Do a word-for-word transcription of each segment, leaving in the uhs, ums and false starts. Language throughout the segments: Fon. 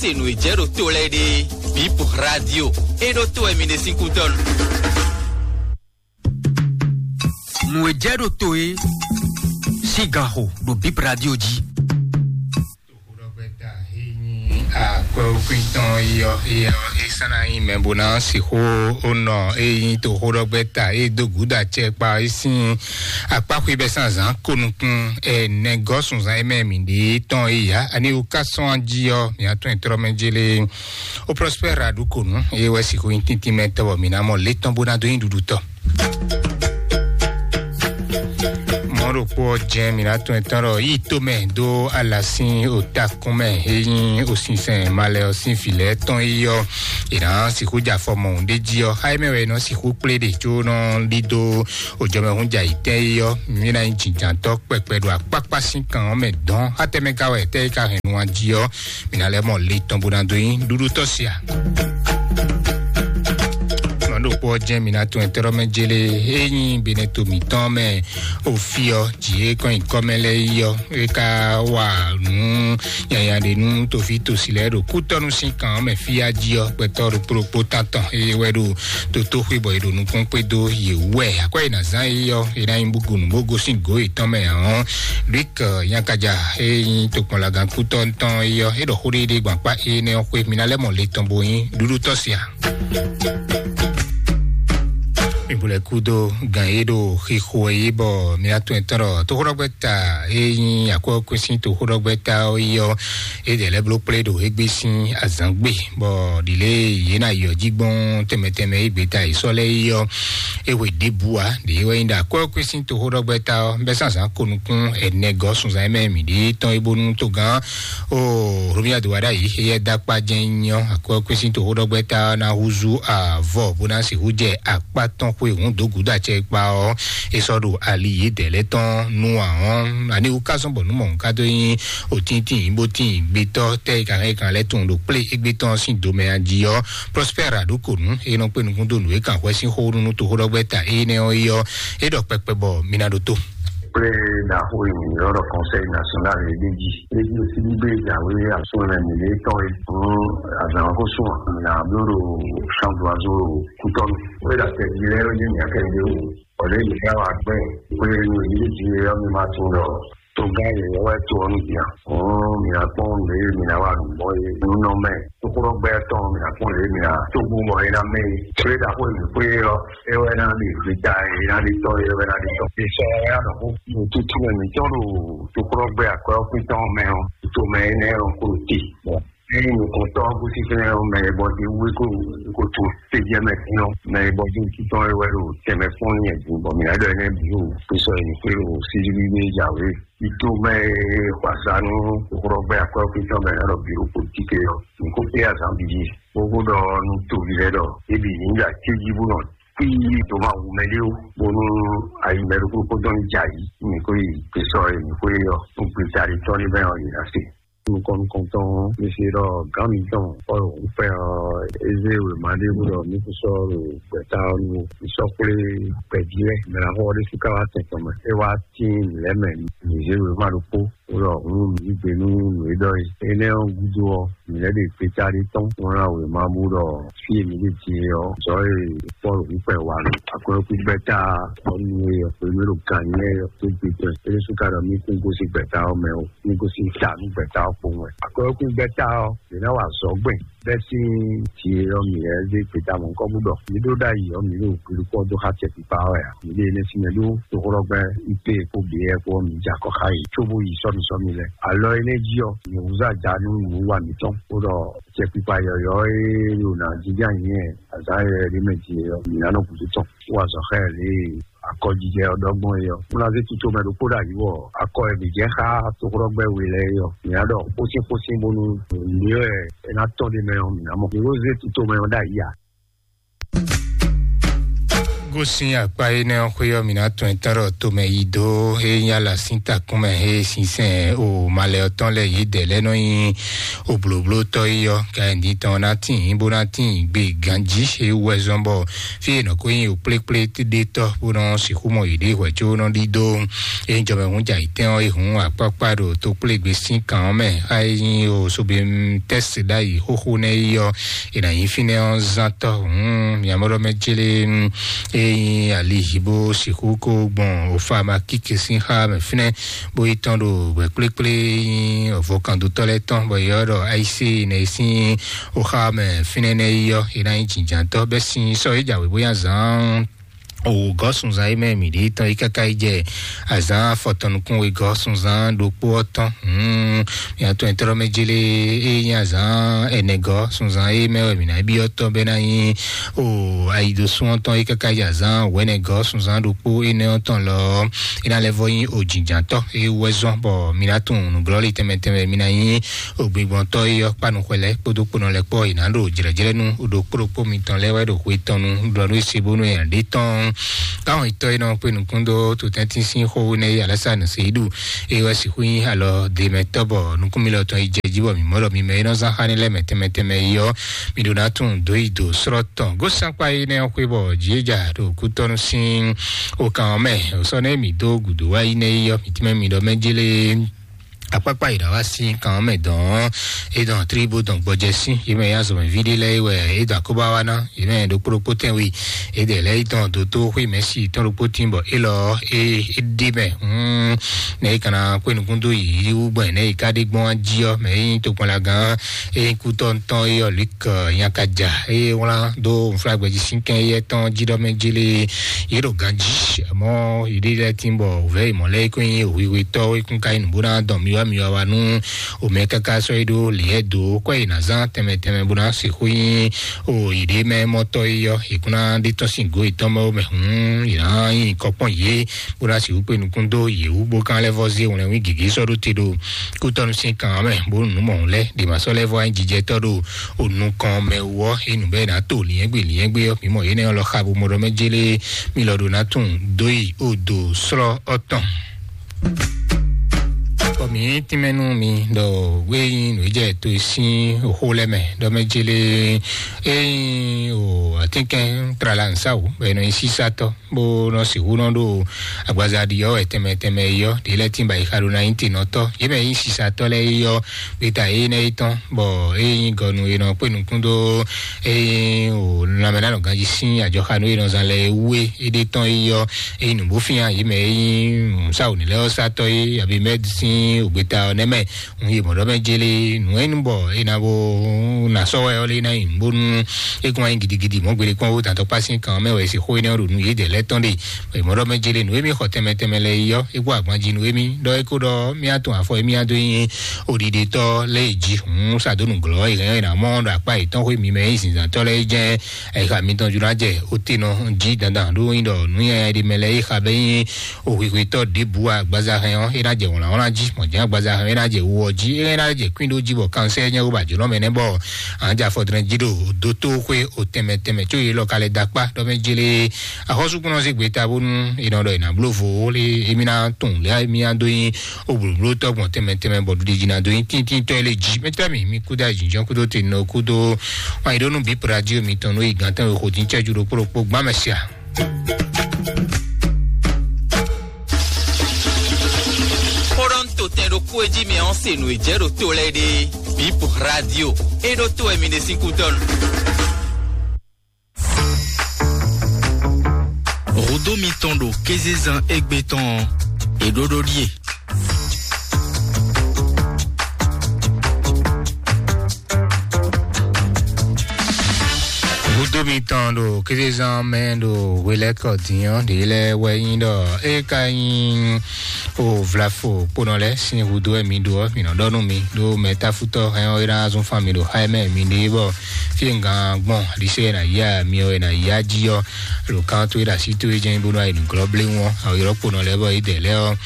Enu e jɛ ɖo to lɛ ɖe, Bip Radio. E ɖo to wɛ mi ɖe sín kútɔnu. Nu e jɛ ɖo to e sín ganxo ɖo Bip Radio jí. Toxoɖɔgbɛta e nyí akwɛ́wúkwín tɔn é ɔ́, é ɔ́, é sán ná nyí mɛ bó ná sixú ó nɔ é nyí toxoɖɔgbɛta é dó gǔdo acɛ kpa é sín akpáxwé bɛ́ sín azǎn ko nukún ɛ nɛgɔ́ sunzan é mɛ mǐ ɖe tɔn é yǎ. Ani wú ká sɔ́n jí ɔ́, mǐ á tún ɛ tlɔ́ mɛ jélé. Ó Prospère Aɖukonu, é wɛ sixú nyí tíntín mɛ tɔ́ bɔ mǐ ná mɔ lě tɔn bó ná dó nyí ɖuɖu tɔ́. Mɔ̌ ɖokpó ɔ́ jɛ́n mǐ ná tún ɛ tɔ́n ɖɔ yí tó mɛ dó ala sín otakún mɛ é nyí osinsɛn malɛ ɔ́ sín vǐ lɛ́ɛ tɔn é ɔ́, è nǎ sixú jɛ afɔ mɔ̌hun ɖé jí ɔ́, xá é mɛ wɛ è nɔ sixú kplé ɖe có nɔ ɖidó òjɔmɛhún jɛ ayǐtɛ́n é ɔ́, mǐ ná nyí jǐnjǎntɔ́ kpɛkpɛ ɖo akpákpá sín kan ɔ́ mɛ dɔn. Xá tɛmɛ ka wɛ tɛ́ é ka hɛn nu ɔ́ jí ɔ́, mǐ ná lɛ́ mɔ le tɔn bó ná dó nyí ɖuɖu tɔ́ sia. Mɔ̌ ɖokpó ɔ́ jɛ́n mǐ ná tún ɛtɛ́ɖɔ́ mɛ jélé é nyí Benɛto mǐtɔn mɛ. Ofi ɔ́, jǐ é kɔn nyi kɔ́ mɛ lɛ́ɛ yi ɔ́, é ka wa nǔ nyanya ɖé nú toví tosi lɛ́ɛ ɖo kútɔ́nú sín kan ɔ́ mɛ fí á jí ɔ́, gbɛtɔ́ ɖokpó ɖokpó tántɔn é wɛ ɖo tótóxwé bɔ è ɖo nukún kpé dó yě wú wɛ. Akwɛ́ e nǎ zán é ɔ́, é ná nyí búgonu bó gosín gǒ yětɔn mɛ ǎ ɔ́, Luc Nyakaja e nyí tokpɔnlagán kútɔ́ tɔn é ɔ́, é ɖɔ xó ɖéɖé gbɔn akpá énɛ́ ɔ́ xwé. Mi ná lɛ́ mɔ le tɔn bo nyí ɖuɖú tɔ́ sia. Mi bu lɛ kúdó gan e ɖo xixo é bɔ mi ná tún ɛ tɔn ɖɔ toxóɖɔgbɛ́ta e nyí akwɛ́ kwésín toxóɖɔgbɛ́ta ɔ́ é ɔ́, é ɖe lɛ́ bló kplé ɖo égbé sín azǎn gbe, bɔ ɖǐlé yě ná yɔ jí gbɔn tɛnmɛ tɛnmɛ é gbé ta yě sɔ́ lɛ́ é ɔ́, é hwe ɖěbǔ ǎ. Ɖě wɛ nyí ɖɔ akwɛ́ kwésín toxóɖɔgbɛ́ta ɔ́, bɛ́ sín azǎn ko nukún ɛnɛ gɔ́ sunzan e mɛ mǐ ɖe tɔn é bónú togán o Romia do wa ɖ'ayǐ éyɛ́ dó akpá jɛ́n nyí ɔ́, akwɛ́ kwésín toxóɖɔgbɛ́ta ɔ́ ná húzú avɔ bó ná sixú jɛ akpá tɔn xwé hǔn dó gǔdo acɛ kpa ɔ́, é sɔ́ ɖo ali yědɛɛ lɛ́ɛ tɔn nú ǎ ɔ́, ani wú ká zɔ́n bɔ nǔ mɔ̌hun ká dó nyí òtíntín bó tín gbétɔ́ tɛ́ e ka hɛn e kan lɛ́ tunwun ɖo kplé égbé tɔn sín domɛ a jí ɔ́, Prospère Aɖokonu e nɔ kpé nukún dó nǔ e kan hwɛ sín xó nú toxóɖɔgbɛ́ta énɛ́ ɔ́ é ɔ́, é ɖɔ kpɛkpɛ bɔ mi ná ɖótó. Kple ɖaxó e mǐ ylɔ́ ɖɔ Conseil National e ɖ'é jí. É jí osí ɖíɖó e jǎwe asúnlɛ́mɛ mǐɖée tɔn e hǔn azǎn ɔ́ ko sú ǎ. Mǐ ná bló ɖo Chambre d'Oiseaux ɖo Kútɔ́nu. Wé ɖo atɛ jí lɛ́ɛ é jí mǐ akɛ́ ɖé wú. Bɔ ɖěe mǐ ká wá gbɛ́ xwé nú yě jí é ɔ́, mi ma tunwun ɖɔ togán yěyɔ́ wɛ to ɔ́ nú din a? Hǔn mǐ ná kpɔ́n lě e mǐ ná wa nǔ gbɔn é nú nɔ mɛ. Tóxóɖɔgbɛ́ tɔn mǐ ná kpɔ́n lě e mǐ ná tó bú bɔ é ná mɛ é. Xwé ɖaxó e mǐ xwé é ɔ́, é wɛ ná ɖe gbeta, é ná ɖe tɔ́, é wɛ ná ɖe tɔ́. È sɔ ɛ ná ɖɔ xó. Ɖo tutu mɛ mǐtɔn ɖo tóxóɖɔgbɛ́ akwɛ́ ɔ́ xwé tɔn mɛ ɔ́, to mɛ énɛ́ ɔ́ ko ɖo te. Bɔ ényí nukɔntɔ́ ɔ́ gosín fínɛ́ ɔ́, mɛ e bɔ dé wú é ko é ko to tejɛ mɛ dín ɔ́, mɛ e bɔ dé wú títɔn é wɛ ɖo tɛnmɛ kpɔ́n nyɛ din, bɔ mǐ ná ɖɔ énɛ́ bǐ ɖo xwésɔ e mǐ xwé ɖo sísí ɖíɖí jǎwe. Ito mɛ e xɔ azǎn nú xɔlɔgbɛ akwɛ́ ɔ́ kwítɔ́ mɛ ná ɖɔ bǐ ɖo politiki ɔ́, mǐ ko kplé azǎn bǐ jí. Bó ko ɖɔ nú toví lɛ́ɛ ɖɔ é bǐ ní ɖo atín jí bó nɔ kpí dó ma wu mɛ ɖé ó, bónú ayi mɛ ɖokpó kpódó ní jɛ ayǐ, mǐ ko yi gbesɔ e mǐ ko yi ɔ́, nú gbeta ɖé tɔn ní bɛn ɔ́, yě ná se. Nukɔn nukɔntɔn, mi se ɖɔ gǎn mitɔn Pɔ́lu kpɛ ɔ́, é zé wěma ɖé bó ɖɔ mǐ kún sɔ́ ɖo gbɛ̌ta ɔ́ nu ó. Mǐ sɔ́ kplé gbɛ̌ví lɛ́ɛ, mɛ ná xɔ ɔ́ ɖésú ká wá tɛn tɔn mɛ. É wá tín lɛ̌ mɛ mǐ zé wěma ɖokpó, bó ɖɔ hǔn mǐ yí gbe nú nǔ e ɖɔ é. Énɛ́ ɔ́ gúdo ɔ́, mǐ lɛ́ ɖe gbeta ɖé tɔn, bó ná wěma bó ɖɔ fí e mǐ ɖe din é ɔ́, zɔ̌ e Pɔ́lu kún kpɛ wa ɖo akwɛ́kú gbɛ́ta ɔ́ nu é ɔ́, hwenu e ɖo gǎn nyí é ɔ́, tó gbe tɔn é ɖésú ka ɖɔ mí kún gosín gbɛ̌ta ɔ́ mɛ ó. Ní gosín ta nú gbɛ̌ta ɔ́ kpowun wɛ. Akwɛ́kú gbɛ́ta ɔ́, mǐ ná wa azɔ̌ gbɛn bɛ́ sín jǐ e ɔ́ mǐ lɛ́ zé gbeta mɔ̌hunkɔ́ bó ɖɔ mǐ ɖó ɖ'ayǐ ɔ́, mǐ ɖo hwilukpɔ́ dó xá tɛkpikpa ɔ́ wɛ ǎ. Mǐ ɖe énɛ́ sín mɛ ɖó toxóɖɔgbɛ́ ipé kpó bǐ kpó ɔ́, mǐ jɛ akɔ xá yě cóbó yi sɔ́misɔ́mi lɛ́ɛ. Alɔ énɛ́ jí ɔ́, mǐ húzú aja nú nǔwiwa mǐtɔn, bó ɖɔ tɛkpikpa yɔ̌yɔ́ e ɖo nǎ jínjɔ́n ayǐ azǎn yɔ̌yɔ́ ɖé mɛ din é ɔ́, mǐ ná nɔ gǔdo tɔn. Wó azɔ̌ xá ɛ lě e akɔjijɛ ɔ́ ɖɔ gbɔn é ɔ́, un ná zé tito mɛ ɖokpó ɖo ayǐ wɔ akɔ e mǐ jɛ xá toxóɖɔgbɛ́ we lɛ́ɛ é ɔ́, mǐ ná ɖɔ xósín xósín bónú nǔ e wɛ é ná tɔ́n ɖ'é mɛ ɔ́, mǐ ná mɔ. Mǐ ko zé tito mɛ ɔ́ ɖo ayǐ ǎ. Bó sín akpá énɛ́ ɔ́ xwé ɔ́, mǐ ná tɔn ɛ tán ɖɔ tomɛ yi dó é nyí ala sín takún mɛ, é sinsɛn o malɛ ɔ́ tɔn lɛ́ɛ yě dɛ lɛ́ɛ nɔ nyi o blǒblótɔ́ yi ɔ́, ka ɛ ní tɔn ná tín bó ná tín gbe ganjí é wú wɛ zɔ́n bɔ fí e nɔ ko nyi o kplékplé ɖé tɔ́ bó nɔ sixú mɔ yěɖée hwɛ̌ có nɔ ɖídó. É nyí jɔmɛhún jɛ ayǐtɛn ɔ́, é hǔn akpákpá ɖo tokplégbé sín kan ɔ́ mɛ, á é nyí o sobe tɛ́sɛ ɖ'ayǐ xóxó nɛ́ yi ɔ́, è nǎ nyí fínɛ́ ɔ́ zán tɔ́. Hǔn miamɔ́ɖɔmɛ célé é nyí ali bó sixú kó gbɔn òfamakíke sín xá mɛ fínɛ́, bó yi tɔn ɖo wɛ̌ kplékplé nyí vɔkandotɔ́ lɛ́ɛ tɔn, bɔ yě ɔ́ ɖɔ ayísé nɛ sín òxá mɛ fínɛ́ nɛ́ yi ɔ́, è nǎ nyí jǐnjǎntɔ́ bɛ́ sín sɔ́ é jǎwe bóyá zǎn o gɔ́ sunzan e mɛ mǐ ɖe tɔn yi káká yi jɛ azǎn afɔtɔn nukún wegɔ́ sunzan ɖokpó ɔ́ tɔn. Hmm, mia tɔn ɛtɔ́ mɛ jele e nyí azǎn ɛnɛgɔ́ sunzan e mɛ wɛ mǐ ná byɔ́ tɔn bɛ́ ná nyí o ayidosún ɔ́ tɔn yi káká yi azǎn wɛnɛgɔ́ sunzan ɖokpó énɛ́ ɔ́ tɔn lɔ ɔ́, é ná lɛ́ vɔ nyí o jǐnjǎntɔ́ e wú wɛ zɔ́n bɔ mǐ ná tunwun nǔglɔ́ li tɛnmɛ tɛnmɛ mǐ ná nyí o gbigbɔntɔ́ e ɔ́ kpá nukɔn lɛ́ɛ kpódó kponɔ lɛ́ɛ kpó ɔ́, yě ná ɖo jlɛ̌jlɛ́ nú ɖokpó ɖokpó mitɔn lɛ́ɛ wɛ ɖo xwe tɔn nu ɖɔ nú e se bónú è nǎ ɖe tɔn. Káwọn nyǐtɔ́ e nɔ kpé nukún dó totɛ́ntin sín xó énɛ́ e Alásanu Seyídu e wɛ sixú nyí alɔ demɛtɔ́ bɔ nukúnmilɔ tɔn yi jɛ jí bɔ mǐ mɔ ɖɔ mi mɛ e nɔ zán xá ní lɛ́ɛ mɛ tɛnmɛ tɛnmɛ yi ɔ́, mi ɖó ná tunwun dó yi dǒ slɔ́ tɔn. Gósankpa énɛ́ ɔ́ xwé bɔ jǐ é ja ɖo kútɔ́nú sín okan ɔ́ mɛ. Sɔ́ nɛ́ mǐ dó gǔdo wá yi nɛ́ yi ɔ́, mǐ tɛ́nmɛ mi ɖɔ mɛ jélé akpákpá yi ɖɔ wá sín kan ɔ́ mɛ dɔn ɔ́, é dɔn tlí bó dɔn gbɔjɛ sín yě mɛ ya zɔmɛ ví ɖé lɛ́ɛ é wɛ é dɔn akóbá wá ná yě mɛ ɖokpó ɖokpó tɛn wi é dɛ lɛ́ɛ é dɔn dótó xwé mɛ sí tɔn ɖokpó tín bɔ é lɔ é é ɖi mɛ. Hmm, nɛ é kana kpé nukún dó yi wú gbɔn nɛ é ka ɖe gbɔn jí ɔ́ mɛ é nyí tokpɔnlagán é nyí kútɔ́ tɔn é ɔ́ Luc Nyakaja é wlán dó nflágbɛjí sín kɛn éyɛ́ tɔn jí ɖɔ mɛ jélé yě ɖo ganjí mɔ yě ɖe lɛ́ɛ tín bɔ wǔvɛ́ yi mɔ̌ lɛ́ɛ é kó nyí hwihwitɔ́ é kún ka nyí nǔ bó ná dɔn miwá miwá wá nú omɛ káká sɔ́ é ɖó lǐɛ́ dó kɔ́ yi ná zán tɛnmɛ tɛnmɛ bó ná sixú nyí o yě ɖe mɛ mɔtɔ́ é ɔ́ yě kún ná ɖe tɔ́n sín gǒ yětɔn mɛ mɛ hǔn yě ná nyí kɔkpɔ́n yě bó ná sixú kpé nukún dó yě wú bó kán lɛ́ vɔ́ zé wlɛ́nwí gěgé sɔ́ ɖó te ɖo kútɔ́nú sín kan ɔ́ mɛ bónú nǔ mɔ̌hun lɛ́ɛ ɖě ma sɔ́ lɛ́ vɔ́ nyí jijɛtɔ́ ɖo o nukɔn mɛ wú ɔ́ é nǔ bɛ́ ná to lǐnyɛ́gbé lǐnyɛ́gbé ɔ́ mǐ mɔ yě nɛ́ ɔ́ lɔ xa bo mɔ ɖɔ mɛ jélé mì lɔ ɖo ná tunwun dó yi o do slɔ́ ɔ́ tɔn. Bɔ mǐ tínmɛ nú mi ɖɔ wé nyí nǔ e jɛ to e sín xó lɛ́ɛ mɛ ɖɔ mɛ jélé é nyí o atínkɛn tlala nǔsáwǔ bɔ è nɔ nyi sísátɔ́ bó nɔ sixú nɔ ɖo agbaza ɖi ɔ́ wɛ tɛnmɛ tɛnmɛ yi ɔ́ ɖě lɛ́ɛ tín ba yi xa ɖo ná nyí tenɔtɔ́ yě mɛ nyí sisatɔ́ lɛ́ɛ yi ɔ́ gbeta énɛ́ yi tɔn bɔ é nyí gɔnu e nɔ kpé nukún dó é nyí o lanmɛ ná nɔ ganjí sín ajɔxanu e nɔ zán lɛ́ɛ wú é é ɖe tɔn yi ɔ́ é nyí nǔbófín yě mɛ é nyí sáwǔ ní lɛ́ɛ ɔ́ sátɔ́ é abimɛ́d sín ògbeta ɔ́ nɛ́ mɛ. Ŋun yi mɔ̌ ɖɔ mɛ jélé nǔ e nu bɔ è nǎ bó ná sɔ́ wɛ ɔ́ lé ná nyi bónú é kún wá nyí gidigidi mɔ̌ gbélé kpɔ́n ó tantɔ kpá sín kan mɛ wɛ é se xó énɛ́ ɔ́ ɖo nǔ yě dɛ lɛ́ tɔn ɖe. È mɔ̌ ɖɔ mɛ jélé nǔ e mì xɔ tɛnmɛ tɛnmɛ lɛ́ɛ yi ɔ́ é kó agban jí nǔ e mì ɖɔ é kó ɖɔ mì á tun afɔ e mì á dó nyi oɖiɖetɔ́ lɛ́ɛ jí hǔn sa dó nǔglɔ́ é hɛn é ná mɔ ɖo akpá yětɔn xwé mi mɛ é nyí zǐnzǎntɔ́ lɛ́ɛ é jɛ́n. Ayixa mitɔn jló ná jɛ otenɔ jí dandan ɖó nyí ɖɔ nǔnyanya ɖé mɛ lɛ́ɛ é xa bɛ́ nyí ohwihwitɔ́ ɖěbǔ agbaza hɛn ɔ́ é ná jɛ wlǎnwlán jí mɔ̌ jɛ́n agbaza hɛn ɔ́ é ná jɛ wo ɔ́ jí é ná jɛ kwín ɖó jí bɔ kansɛ́ nyɛ wó ba jǒnɔ mɛ nɛ́ bɔ à ń jɛ afɔdrɛn jí ɖo dótó xwé o tɛnmɛ tɛnmɛ có yě lɔ ka lɛ da kpá ɖɔ mɛ jélé axɔ́súkúnɔ zé gbeta bónú è nɔ ɖɔ è nǎ bló vo lé émí ná tunwun lé émí ná dó nyí o blǒblótɔ́ gbɔn tɛnmɛ tɛnmɛ bɔ ɖuɖi jí ná dó nyí tíntínntɔ́ é lé jí mɛtɔ́ mi mi kúdó ayǐjínjɔ́n kúdó te nɔ kúdó wan yě ɖó nú bǐ pradio mitɔn nú yi gǎn tɛnwe xo dín cɛ́jú ɖokpó ɖokpó gbán mɛ sia. Kpɔɖɔn to tɛn ɖokpó e jí mi ɔ́ se nǔ e jɛ ɖo to lɛ́ɛ ɖe. Bip radio. E ɖo to wɛ mi ɖe sín kútɔnu. Rodo mitɔn ɖo kézezan égbé tɔn ɔ́, è ɖó ɖó ɖíe. Gúdo mitɔn ɖo kézezán mɛ ɖo hwelɛ́kɔ din ɔ́ ɖě lɛ́ɛ wɛ nyí ɖɔ é ka nyí O vlafo kponɔ lɛ sin hudo wɛ mi ɖo ɔ, mi nɔ ɖɔ nú mi ɖo mɛ tafutɔ hɛn ɔ, ena zun fan mi ɖo xa mɛ mi ɖe bɔ fie gan gbɔn alise na ya mi ɔ na ya ji ɔ, lo kan to e ɖo asi to e jɛn bonu ayi nuglɔ ble ŋu ɔ, awo yɔrɔ kponɔ lɛ bɔ e dɛ lɛ ɔ,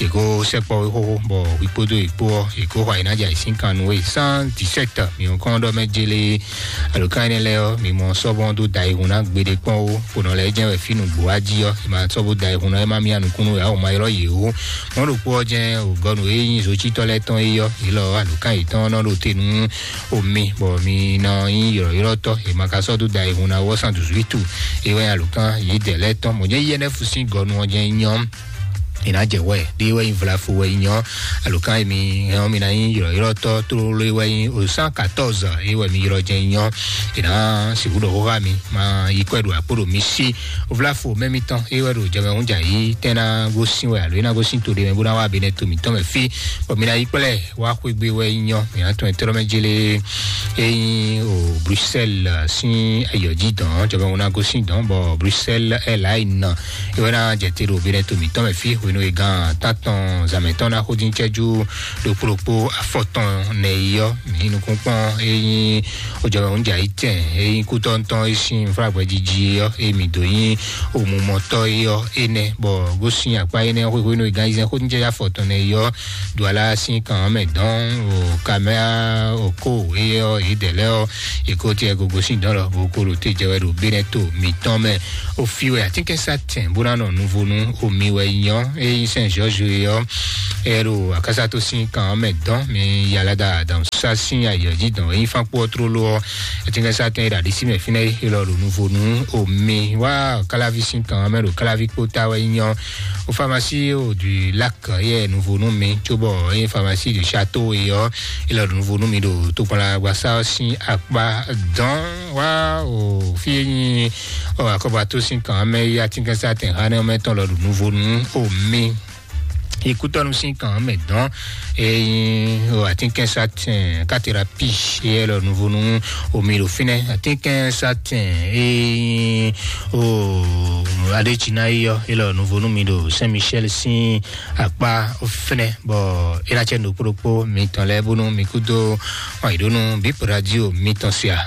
e ko sɛkpɔ we xoxo bɔ wikpo do wikpo ɔ, e ko xɔ ayi na dza sin kan nu we cent dix-sept mi ɔ kɔn ɖɔ mɛ jele. Alo kan énɛ́ lɛ́ɛ ɔ́, mi mɔ sɔ́bɔ́ dó da ihun ná gbeɖé kpɔ́n ó, xo nɔ lɛ́ɛ jɛ́n wɛ fí nǔgbó wá jí ɔ́, è ma sɔ́ bó da ihun ná, é má mía nukúnnú wɛ, a ò ma ylɔ́ yě ó. Mɔ̌ ɖokpó ɔ́ jɛ́n ògɔ́nù e nyí zocítɔ́ lɛ́ɛ tɔn é ɔ́, yě lɔ alo kan yětɔn nɔ ɖo te nú omi, bɔ mi nɔ nyí ylɔ̌ylɔ́tɔ́, è ma ka sɔ́ dó da ihun ná wɔ san duzwítù, é wɛ nyí alo kan yě dɛ lɛ́ɛ tɔn. Mɔ̌ jɛ́n yɛ́nɛ́fu sín gɔ́nù ɔ́ jɛ́n nyí ɔ́, è nǎ jɛ wɛ ɖé wɛ nyí vlafo wɛ nyí ɔ́, alo kan e mi hɛn ɔ́, mi ná nyí ylɔ̌ylɔ́tɔ́ tlóló wɛ nyí o cent quatorze é wɛ mi ylɔ́ jɛ́n nyí ɔ́, è nǎ sixú ɖɔ xóxá mi ma yi kɔ́ ɖo akpó ɖo mi sí. Vlafo mɛ mitɔn é wɛ ɖo jɛmɛ hún jà yí tɛ́ ná gosín wɛ alo é ná gosín to ɖé mɛ bó ná wá benɛ to mǐtɔn mɛ fí, bɔ mi ná yi kplɛ́ wá xwégbe wɛ nyí ɔ́, mi ná tɔn ɛ tɛ́ ɖɔ mɛ jélé é nyí o Bruxelles sín ayɔ̌ jí dɔn, jɛmɛ hún ná gosín dɔn, bɔ Bruxelles Airlines é wɛ ná jɛ te ɖo benɛ to mǐtɔn mɛ fí hwenu e gan tátɔn zǎmɛ tɔn ná xó dín cɛ́jú ɖokpó ɖokpó afɔtɔn nɛ yi ɔ́, mǐ nukúnkpɔ́n é nyí ojɔmɛ hún jà yí tɛn é nyí kútɔ́ntɔn é sín fúlágbɛ́ jíjí ɔ́, é mǐ dó nyí omumɔtɔ́ é ɔ́ énɛ́, bɔ gosín akpá énɛ́ xwéxwé nú igán yízɛ́n xó dín cɛ́jú afɔtɔn nɛ yi ɔ́, Duala sín kan ɔ́ mɛ dɔn o kamɛa o ko é ɔ́, é dɛ lɛ́ ɔ́, é ko tɛ gogo sín dɔn lɔ bó ko ɖo te jɛ wɛ ɖo benɛ to mǐtɔn mɛ. O fi wɛ atínkɛnsá tɛn bó ná nɔ nuvo nú omi wɛ nyɔ é nyí Saint George é ɔ́, é ɖo akásátó sín kan ɔ́ mɛ dɔn mi yalada dɔn sá sín ayɔ jí dɔn é nyí fánkpó ɔ́ tlóló ɔ́, atínkɛnsá tɛn é ɖo aɖisí mɛ fínɛ́ é lɔ ɖo nuvo nú omi wá káláví sín kan ɔ́ mɛ ɖo káláví kpó ta wɛ nyɔ. O pharmacie o du lac yɛ nuvo nú mi, cóbɔ é nyí pharmacie du château é ɔ́, é lɔ ɖo nuvo nú mi ɖo tokpɔnla agbasa ɔ́ sín akpá dɔn wá o fi e nyí o akɔbato sín kan mɛ yí atínkɛnsá tɛn xá nɛ mɛ tɔn lɔ ɖo nuvo nú o mi. Ikútɔnu sín kan mɛ dɔn é nyí o atínkɛnsá tɛn katerapi é lɔ nuvo nú o mi ɖo fínɛ. Atínkɛnsá tɛn é nyí o adétsina yí ɔ́ é lɔ nuvo nú mi ɖo Saint Michel sín akpá fínɛ, bɔ é ná cɛ nukúɖokpó mitɔn lɛ́ɛ bónú mi kúdó ɔyǐɖónú bíp radio mitɔn sia.